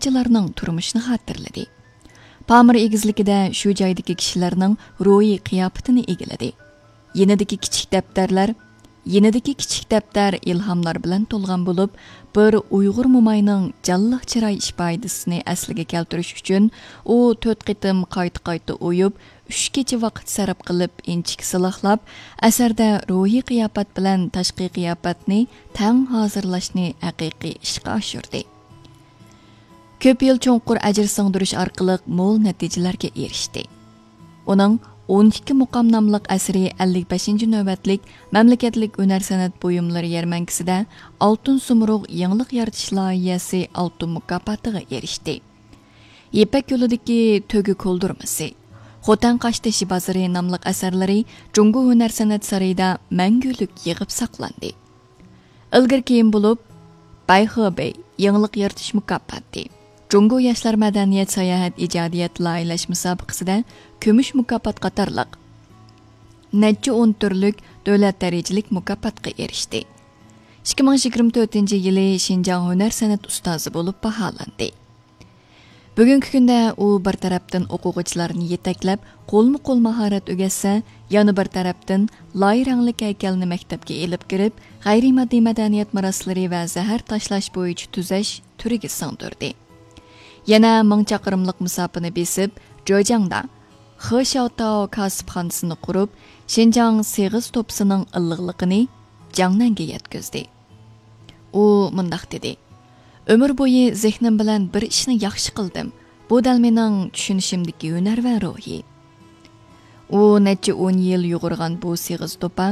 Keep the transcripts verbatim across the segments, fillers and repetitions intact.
ئىشچىلارنىڭ تۇرمۇشىنى خاتىرىلىدى. پامىر ئېگىزلىكىدە شۇ جايدىكى كىشىلەرنىڭ روھىي قىياپىتىنى ئىگىلىدى. يېنىدىكى كىچىك دەپتەرلەر، يېنىدىكى كىچىك دەپتەر ئىلھاملار بىلەن تولغان بولۇپ، بىر ئۇيغۇر موماينىڭ جانلىق چىراي ئىپادىسىنى ئەسلىگە كەلتۈرۈش ئۈچۈن ئۇ تۆت قېتىم قايتا-قايتا ئويۇپ، ئۈچ كېچە ۋاقىت سەرپ قىلىپ ئىنچىكە سىلاقلاپ، ئەسەردە روھىي قىياپەت بىلەن تاشقى قىياپەتنى تەڭ ھازىرلاشنى ھەقىقىي ئىشقا ئاشۇردى. كۆپ يىل چوڭقۇر ئەجىر سىڭدۈرۈش ئارقىلىق مول نەتىجىلەرگە ئېرىشتى. ئۇنىڭ ئون ئىككى مۇقام ناملىق ئەسىرى ئەللىك بەشىنچى نۆۋەتلىك مەملىكەتلىك ھۈنەر سەنئەت بۇيۇملىرى يەرمەنكىسىدە ئالتۇن سۇمرۇغ يېڭىلىق يارىتىش لايىھەسى ئالتۇن مۇكاپاتىغا ئېرىشتى. يىپەك يولىدىكى تۆگە كولدۇرمىسى، خوتەن قاشتېشى بازىرى ناملىق ئەسەرلىرى جۇڭگو ھۈنەر سەنئەت سارىيىدا مەڭگۈلۈك يىغىپ ساقلاندى. ئىلگىرى كېيىن بولۇپ، بەيخېبېي يېڭىلىق يارىتىش مۇكاپاتى، جۇڭگو ياشلار مەدەنىيەت ساياھەت ئىجادىيەت لايىھەلەش مۇسابىقىسىدە كۈمۈش مۇكاپات قاتارلىق نەچچە ئون تۈرلۈك دۆلەت دەرىجىلىك مۇكاپاتقا ئېرىشتى. ئىككى مىڭ يىگىرمە تۆتىنچى يىلى شىنجاڭ ھۈنەر سەنئەت ئۇستازى بولۇپ باھالاندى. بۈگۈنكى كۈندە ئۇ بىر تەرەپتىن ئوقۇغۇچىلارنى يېتەكلەپ، قولمۇ قول ماھارەت ئۆگەتسە، يەنە بىر تەرەپتىن لاي رەڭلىك ھەيكەلنى مەكتەپكە ئېلىپ كىرىپ، غەيرىي ماددىي مەدەنىيەت مىراسلىرى ۋە زەھەر تاشلاش بويىچە تۈزەش تۈرىگە سىڭدۈردى. يەنە مىڭ چاقىرىملىق مۇساپىنى بېسىپ، جېجياڭدا خې شياۋتاۋ كاسىپخانىسىنى قۇرۇپ، شىنجاڭ سېغىز توپىسىنىڭ ئىللىقلىقىنى جياڭنەنگە يەتكۈزدى. ئۇ مۇنداق دېدى: «ئۆمۈر بويى زېھنىم بىلەن بىر ئىشنى ياخشى قىلدىم. بۇ دەل مېنىڭ چۈشىنىشىمدىكى ھۈنەرۋەن روھى.» ئۇ نەچچە ئون يىل يۇغۇرغان بۇ سېغىز توپا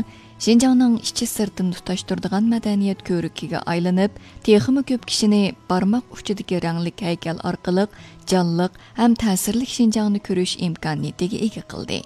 شىنجاڭنىڭ ئىچى سىرتىنى تۇتاشتۇرىدىغان مەدەنىيەت كۆۋرۈكىگە ئايلىنىپ، تېخىمۇ كۆپ كىشىنى بارماق ئۇچىدىكى رەڭلىك ھەيكەل ئارقىلىق جانلىق ھەم تەسىرلىك شىنجاڭنى كۆرۈش ئىمكانىيىتىگە ئىگە قىلدى.